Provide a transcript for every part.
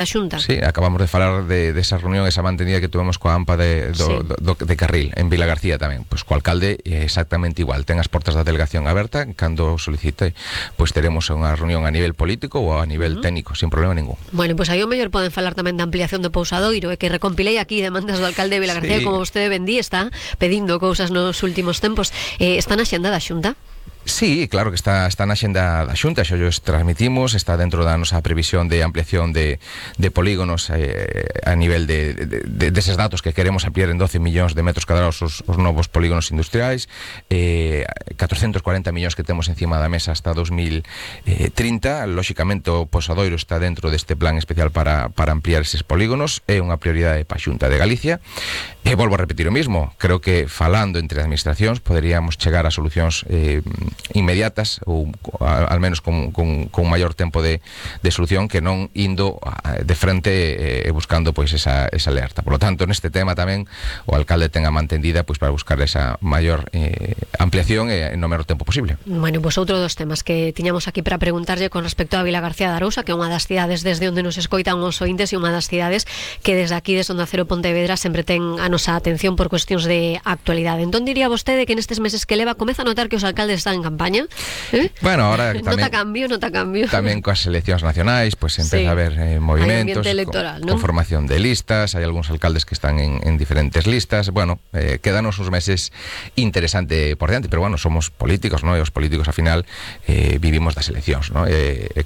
da Xunta. Sí, acabamos de falar de esa reunión, esa mantenida que tuvemos coa AMPA de Carril, en Vilagarcía tamén. Pois co alcalde é exactamente igual. Ten as portas da delegación aberta, cando solicite, pois teremos unha reunión a nivel político ou a nivel técnico, sin problema ningún. Bueno, pois aí o mellor poden falar tamén da ampliación do Pousadoiro, e que recompilei aquí demandas do alcalde de Vilagarcía, como vostede vendí, está pedindo cousas nos últimos tempos. Está na xenda da Xunta? Sí, claro que está na xenda da Xunta, xa os transmitimos, está dentro da nosa previsión de ampliación de polígonos a nivel deses datos que queremos ampliar en 12 millóns de metros cadrados os novos polígonos industriais, 440 millóns que temos encima da mesa hasta 2030. Lóxicamente o Pousadoiro está dentro deste plan especial para ampliar eses polígonos, é unha prioridade para a Xunta de Galicia, e volvo a repetir o mismo, creo que falando entre administracións poderíamos chegar a solucións inmediatas ou al menos con maior tempo de solución, que non indo de frente e buscando pois esa alerta. Por lo tanto, neste tema tamén o alcalde ten a mantendida pois para buscar esa maior ampliación no menor tempo posible. Bueno, pois outro dos temas que tiñamos aquí para preguntarlle con respecto a Vilagarcía de Arousa, que é unha das cidades desde onde nos escoitan os ointes e unha das cidades que desde aquí, desde Onda Cero Pontevedra, sempre ten a nosa atención por cuestións de actualidade. Entón diría vostede que nestes meses que leva comeza a notar que os alcaldes están en campaña? Bueno, ahora tamén nota cambio. Tamén coas eleccións nacionais, pois empeza a haber movimentos, con formación de listas, hai algúns alcaldes que están en diferentes listas. Bueno, quedanos uns meses interesante por diante, pero bueno, somos políticos, non? E os políticos ao final vivimos das eleccións, non?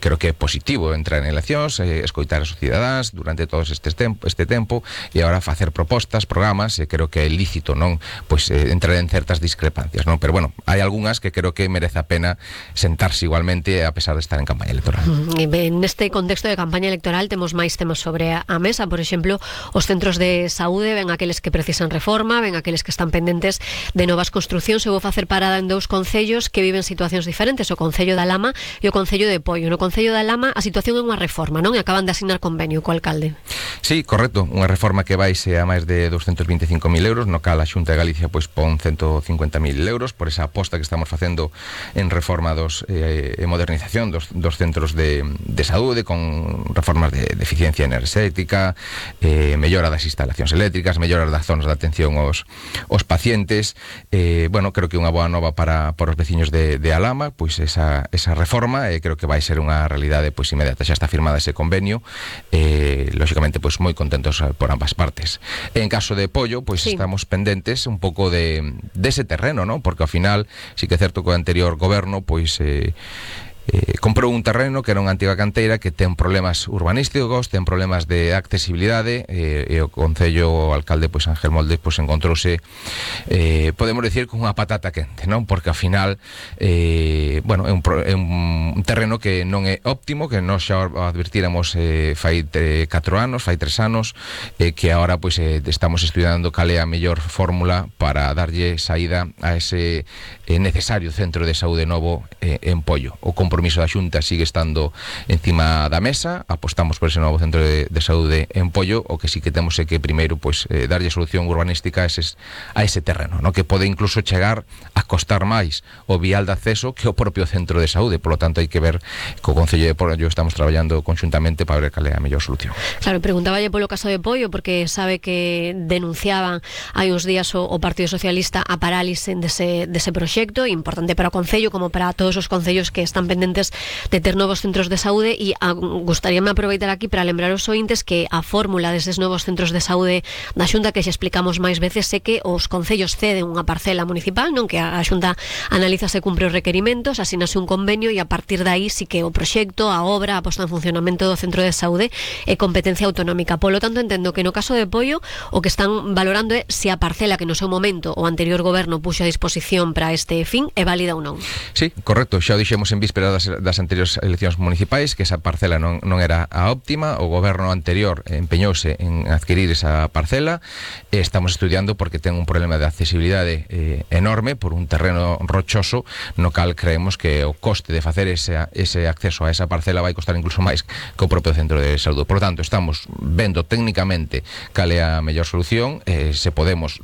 Creo que é positivo entrar en eleccións, escoitar aos cidadáns durante todo este tempo e agora facer propostas, programas, e creo que é lícito, non? Pois entrar en certas discrepancias, non? Pero bueno, hai algunhas que creo que merece a pena sentarse igualmente a pesar de estar en campaña electoral. Neste contexto de campaña electoral temos máis temas sobre a mesa, por exemplo, os centros de saúde, ven aqueles que precisan reforma, ven aqueles que están pendentes de novas construcións. Eu vou facer parada en dous concellos que viven situacións diferentes, o Concello da Lama e o Concello de Poio. No Concello da Lama a situación é unha reforma, non? E acaban de asignar convenio co alcalde. Sí, correcto, unha reforma que vaise a máis de 225.000 euros, no cal a Xunta de Galicia pois pon 150.000 euros por esa aposta que estamos facendo en reforma e modernización dos centros de saúde, con reformas de eficiencia enerxética, mellora das instalacións eléctricas, mellora das zonas de atención aos pacientes. Bueno, creo que unha boa nova para os veciños de Alama, pois esa reforma, creo que vai ser unha realidade pois inmediata. Xa está firmada ese convenio, lóxicamente pois moi contentos por ambas partes. En caso de Poio, pois estamos pendentes un pouco dese terreno, non? Porque ao final, sí que é certo que o anterior goberno pois comprou un terreno que era unha antiga canteira que ten problemas urbanísticos, ten problemas de accesibilidade, e o Concello, o alcalde pois Ángel Molde pois encontrouse, podemos decir, con unha patata quente, non? Porque ao final bueno, é un terreno que non é óptimo, que nós xa o advertíramos fai 4 anos, fai 3 anos, que agora pois estamos estudiando cal é a mellor fórmula para darlle saída a ese necesario centro de saúde novo en Poio. O compromiso da Xunta sigue estando encima da mesa, apostamos por ese novo centro de saúde en Poio. O que sí que temos é que primeiro pois darlle solución urbanística a ese terreno, no? Que pode incluso chegar a costar máis o vial de acceso que o propio centro de saúde. Por lo tanto, hai que ver co Concello de Poio, estamos traballando conjuntamente para ver cal é a mellor solución. Claro, preguntáballe polo caso de Poio, porque sabe que denunciaban hai uns días o Partido Socialista a parálise dese proxecto, importante para o Concello como para todos os concellos que están pendentes de ter novos centros de saúde. E gustaríame aproveitar aquí para lembrar aos ointes que a fórmula deses novos centros de saúde da Xunta, que xa explicamos máis veces, é que os concellos ceden unha parcela municipal, non? Que a Xunta analiza se cumpre os requerimentos, asínase un convenio e a partir de aí sí que o proxecto, a obra, a posta en funcionamento do centro de saúde é competencia autonómica. Polo tanto, entendo que no caso de Poio o que están valorando é se a parcela que no seu momento o anterior goberno puxo a disposición para este fin é válida ou non. Sí, correcto, xa o dixemos en víspera das anteriores eleccións municipais que esa parcela non era a óptima. O goberno anterior empeñouse en adquirir esa parcela, e estamos estudiando porque ten un problema de accesibilidade enorme por un terreno rochoso, no cal creemos que o coste de facer ese acceso a esa parcela vai costar incluso máis que o propio centro de saúde. Por lo tanto, estamos vendo técnicamente cal é a mellor solución, se podemos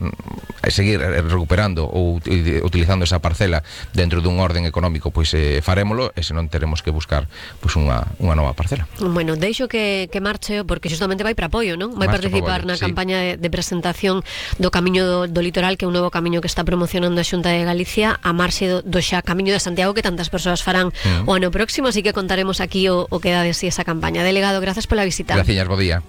seguir recuperando ou utilizando esa parcela dentro dun orden económico, pois farémolo. e senón teremos que buscar pois unha nova parcela. Bueno, deixo que marche, porque justamente vai para apoio, non? Vai participar na campaña de presentación do Camiño do Litoral, que é un novo camiño que está promocionando a Xunta de Galicia, a marxe do xa Camiño de Santiago, que tantas persoas farán o ano próximo, así que contaremos aquí o que dá de si esa campaña. Delegado, grazas pola visita. Graciñas, bo día.